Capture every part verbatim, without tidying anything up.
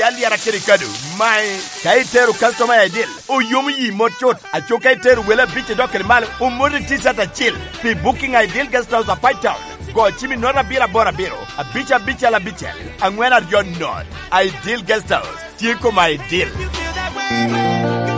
Alyara kede kado, mae, ka itero customer i Ideal, oyomo yi mot cut, aco ka itero wele abic i dok kede malo, omoti T-shirt acil. Pi booking i Ideal Guest House, Apac Town, go cim i note abiro aboro abiro, abic abicel abicel, angwen aryo note. Ideal Guest House, tye koma Ideal.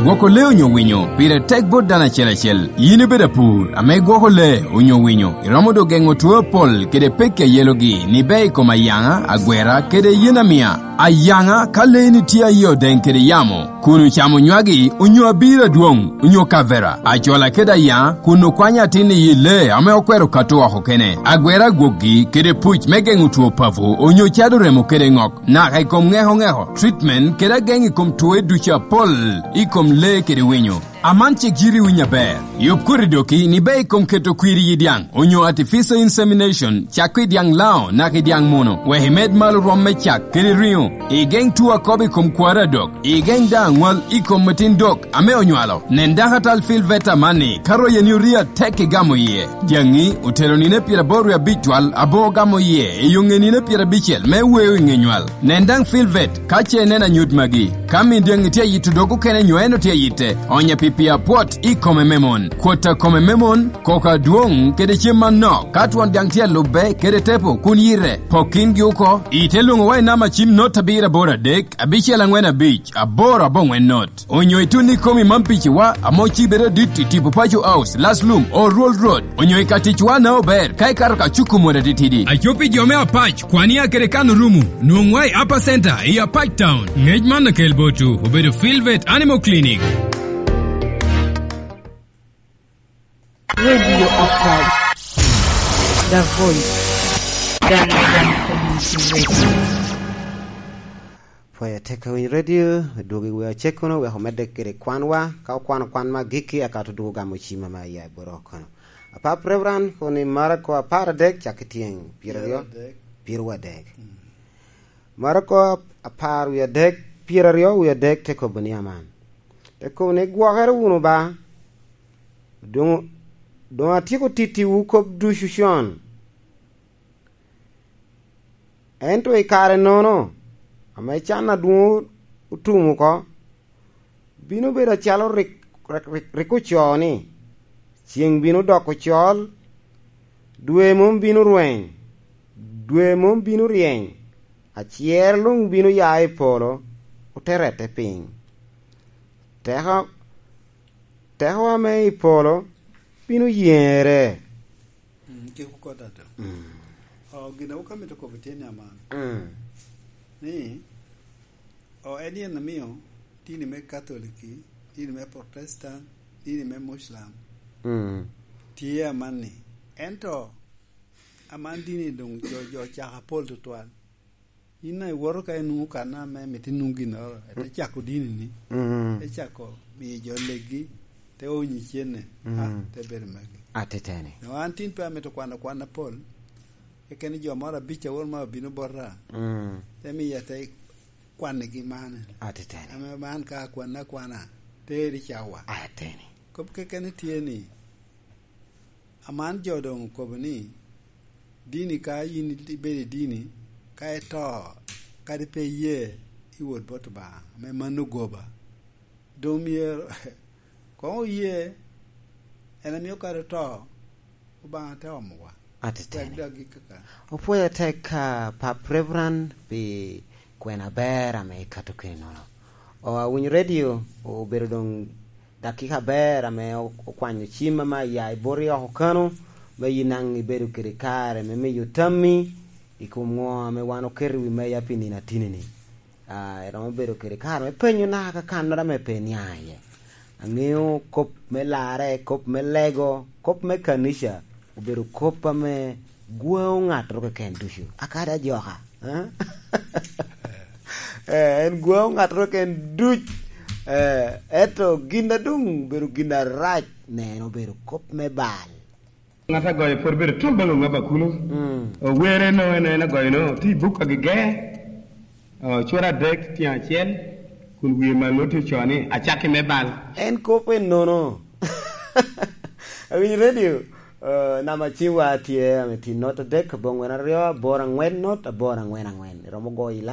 Gwoko lee onyo winyo pire tek bot dano acel acel. Yin ibedo apur ame igwoko lee onyo winyo, iromo dok geŋo two apol kede pekki a yelogi ni ber i kom ayaŋa, agwera, kede yen amia. Ayaŋa, ka leeni tye a yie odeŋ kede yamo, kun ocamo nywagi onyo abiro adwoŋ, onyo kavera, acola kede ayaŋa, kun okwanyo atin i yi lee ame okwero kato oko kene. Agwera agwokgi kede puc me geŋo two papo, onyo cado remo kede ŋok, naka i kom ŋeko ŋeko, treatment, kede ageŋ i kom twoe ducu apol i kom lee kede winyo. Aman cik yiri winyo aber. Yub koti doki ni ber i kom keto kwir i yi dyaŋ, onyo artificial insemination, cak i dyaŋ laŋo, naka i dyaŋ muno, wek imed malo rwom me cak kede riŋo, igeŋ two akobo i kom kwaro adok, igeŋ daŋ aŋwal i kom metin dok ame onywalo. Nen dakatal Phil Veta amanni, ka royeni orio atek igamo iye. Dyaŋi otero nino pyeraboro wie abic twal, abo ogamo iye i yoŋe nino pyerabicel me weo i ŋe nywal. Nen daŋ Phil Vet ka ce ineno anyut magi. Ka min dyaŋi tye ayito dog okene nyo en otye ayitte, onye pi pii apwot i kome me mon, kwot a kome me mon, koko adwoŋ kede cem manok. Ka twon dyaŋ tye alubbe kede tepo kun yite, pok kingi oko. Ite lwoŋowa i namba cim not abiro aboro adek, abicel aŋwen abic, aboro aboŋwen not. Onyo itun ikomi man piciwa ame ocibere adit i tipo Paco House, Last Lum, Old Road, onyo i ka ticwa na ober ka ikato ka cuku mot atitidi. Aco pi jo me Apac, kwania kede kan orumu, nwoŋwa i Upper Center i Apac Town. Ngec man akel botwu obedo Filvet Animal Clinic. Radio Apac, the voice, the Community Radio. Pwoyo tek awiny radio, dwogo i wi acekkono wek omedde kede kwanwa, ka okwano kwan me agikki, eka to dwogo gamo cim ame aya i bot oko kono. Apap Reverend, kono i Marako apar adek, cak i tyeŋ pyeraryo, pyeraryo adek. Mm. Marako apar wie adek, pyeraryo wie adek te kobo ni aman. Te kobo ni, "Gwokere wunu ba, doŋ, doŋ atyeko tittiwu kop ducu con." Ento i kare-nono, ame can adwoŋ otum oko, bino bedo acalo rik, rik, rik, rik ocoo ni, "Ceŋ bino doko col, dwe mom bino rweny, dwe mom bino ryeny, acer luŋ bino ya i polo, ote rette piny. Teko, teko ame i polo bino yeŋere." Mm, kik okot ato. Mm. O, gin a wok amito kobo tye ni aman. Mm. Ni, o, en yen amio dini me Katoliki, dini me Protestant, dini me Muslim, mm, tye amanni. Ento, aman dini doŋ jo, jo ocako apol tutwal. Yin daŋ iwoto ka inwoŋo kan ame mito inwoŋ ginnoro, ete cako dini-ni, mm, te cako miyo jo leggi, te onyi cene, mm, a, te bedo magi. Atiteni. Dok an tin pe amito kwano kwan apol, keken jo moro abic a woro ma obino bota, mm, te miya te kwanigi man. Atiteni. Ame man ka akwanne akwana, teri cawa. Atiteni. Kop keken tye ni, aman jo doŋ okobo ni, dini ka yin ibedo i dini, ka ito, kadi pe iye, iwot bot Obaŋa, ame mano goba. Doŋ myero, koŋ oye, en amio kadi oto, Obaŋa te omowa. Atiteni. Wek dok gik kaka. Opwoyo tek, ah, Pap Reverend pi kwena aber ame ikato kede nono. O, awinyo radio, obedo doŋ dakika aber ame o-, okwanyo cim ame aya i boti oko kano, me yin daŋ ibedo kede kare me miyo tammi i kom ŋo ame wan oketo i wi meja pi nino atini-ni. Ah, iromo bedo kede kare me penyo naka kakannoro ame pe iniaŋ iye. Aŋeo kop me larre, kop me lego, kop me kanica, obedo kop ame gwaŋo ŋattoro keken ducu. Akadi ajoka, eh? Eh, en gwaŋo ŋattoro keken duc. Eh, ento gin a doŋ obedo gin arac, neno obedo kop me bal. Ŋat agoyo pwod bedo tol baŋ oŋaba kuno. Mm. Owere no en, en agoyo no, tye i buk agege. O, cwara adek tyen acel, kun wie malo tye ocoo ni, "Acakki me bal." En kop ennono. Awinyo radio, eh, namba ciwa tye ame tye not adek, abongwen aryo, aboro angwen not, aboro angwen angwen. Iromo goyo i